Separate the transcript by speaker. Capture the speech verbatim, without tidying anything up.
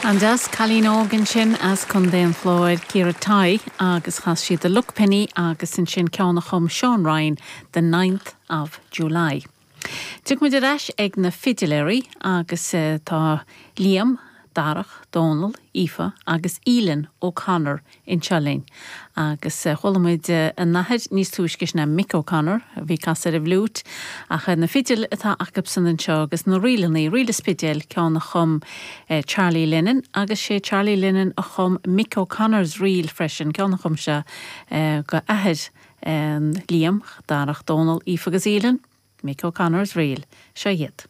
Speaker 1: An-deas cailín óg ansin as Contae an Chláir Ciara Tighe agus chas sí The Luck Penny agus ansin ceann a chum Sean Ryan the ninth of July. Tiocfaidh muid ar ais ag na fidiléirí agus uh, tá Liam, Darach, Dónal, Aoife agus Elin O'Connor anseo linn. Agus uh, chuala muid uh, a n-athair níos túisce ná Mick O'Connor a bhí ag casadh ar an bhfliúit ach na fidil atá acu san anseo agus na ríleanna Ríl an Spidéil ceann a chum uh, Charlie Lennon agus sé Charlie Lennon a chum Mick O'Connor's Reel freisin ceann a chum sé uh, dá athair um, Liam Darach Dónal Aoife agus Elin, Mick O'Connor's Reel seo iad.